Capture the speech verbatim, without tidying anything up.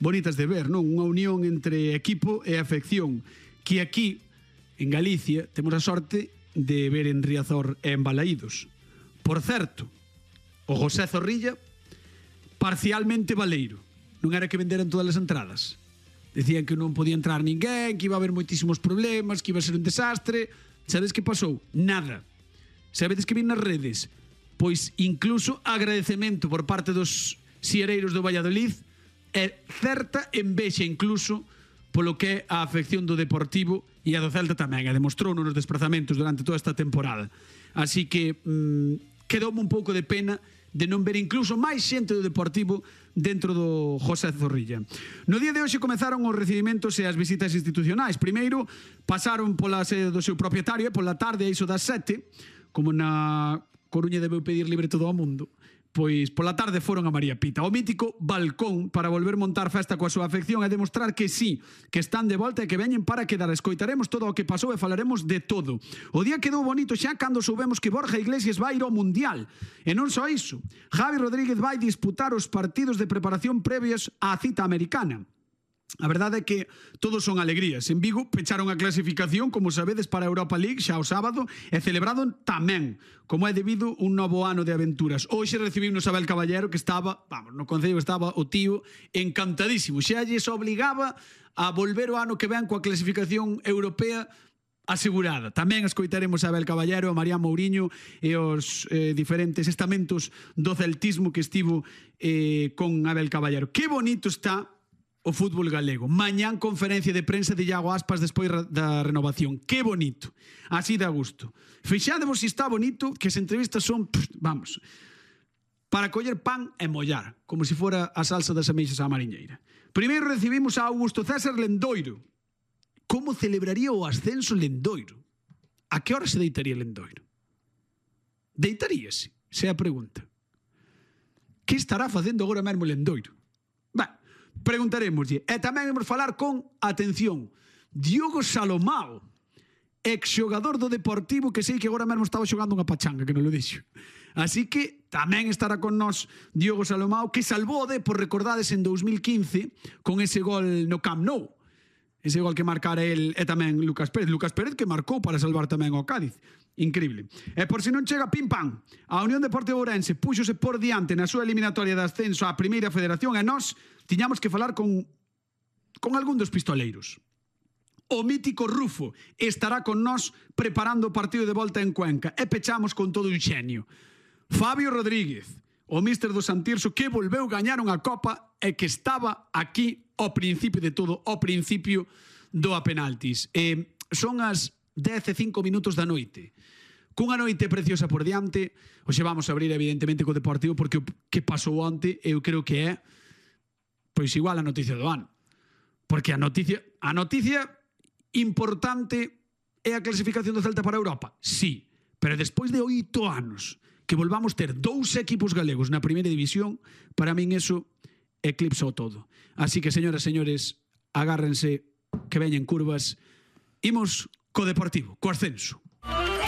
bonitas de ver, non? Unha unión entre equipo e afección, que aquí, en Galicia, temos a sorte de ver en Riazor e en Balaídos. Por certo, o José Zorrilla, parcialmente baleiro. Non era que venderan todas as entradas. Decían que non podía entrar ninguén, que iba a haber moitísimos problemas, que iba a ser un desastre. Sabedes que pasou? Nada. Sabedes que vi nas redes? Pois incluso agradecemento por parte dos siereiros do Valladolid e certa envexa incluso polo que é a afección do Deportivo e a do Celta tamén, e demostrou nos desplazamentos durante toda esta temporada. Así que mmm, quedoume un pouco de pena de non ver incluso máis xente do Deportivo dentro do José Zorrilla. No día de hoxe comezaron os recibimentos e as visitas institucionais. Primeiro, pasaron pola sede do seu propietario e pola tarde, a iso das sete, como na Coruña debeu pedir libre todo o mundo, pois pola tarde foron a María Pita, o mítico balcón, para volver montar festa coa súa afección e demostrar que sí, que están de volta e que veñen para quedar. Escoitaremos todo o que pasou e falaremos de todo. O día quedou bonito xa cando soubemos que Borja Iglesias vai ir ao Mundial. E non só iso, Javi Rodríguez vai disputar os partidos de preparación previos á cita americana. A verdade é que todos son alegrías. En Vigo pecharon a clasificación, como sabedes, para a Europa League xa o sábado e celebrado tamén, como é debido un novo ano de aventuras. Hoxe recibimos a Abel Caballero, que estaba, vamos, no Concello estaba o tío encantadísimo. Xa lles obligaba a volver o ano que ven coa clasificación europea asegurada. Tamén escoitaremos a Abel Caballero, a Marián Mouriño e os eh, diferentes estamentos do celtismo que estivo eh, con Abel Caballero. Que bonito está o fútbol galego. Mañán conferencia de prensa de Iago Aspas despois da renovación. Que bonito. Así dá gusto. Fixádevos se está bonito, que as entrevistas son, pff, vamos, para coller pan e mollar, como se fora a salsa das ameixas á mariñeira. Primeiro recibimos a Augusto César Lendoiro. Como celebraría o ascenso Lendoiro? A que hora se deitaría Lendoiro? Deitaríase? Se é a pregunta. Que estará facendo agora mesmo Lendoiro? Ben, preguntaremoslle. E tamén vamos falar con, atención, Diogo Salomao, exxogador do Deportivo, que sei que agora mesmo estaba xogando unha pachanga, que non lo dixo. Así que tamén estará con nós Diogo Salomao, que salvou o Depor, recordades, en dous mil quince con ese gol no Camp Nou. Ese gol que marcara el e tamén Lucas Pérez. Lucas Pérez que marcou para salvar tamén ao Cádiz. Increíble. E por si non chega, pim pam, a Unión Deportiva Ourense púxose por diante na súa eliminatoria de ascenso á Primeira Federación e nós tiñamos que falar con con algún dos pistoleiros. O mítico Rufo estará con nós preparando o partido de volta en Cuenca e pechamos con todo un xenio. Fabio Rodríguez, o míster do Santirso, que volveu gañar unha copa e que estaba aquí ao principio de todo, ao principio do a penaltis. E son as dez e cinco minutos da noite. Cunha noite preciosa por diante, hoxe vamos a abrir evidentemente co Deportivo, porque o que pasou onte eu creo que é pois igual a noticia do ano. Porque a noticia, a noticia importante é a clasificación do Celta para a Europa. Sí, pero despois de oito anos que volvamos ter dous equipos galegos na primeira división, para min eso eclipsa o todo. Así que, señoras e señores, agárrense que veñen curvas. Imos co Deportivo, co ascenso.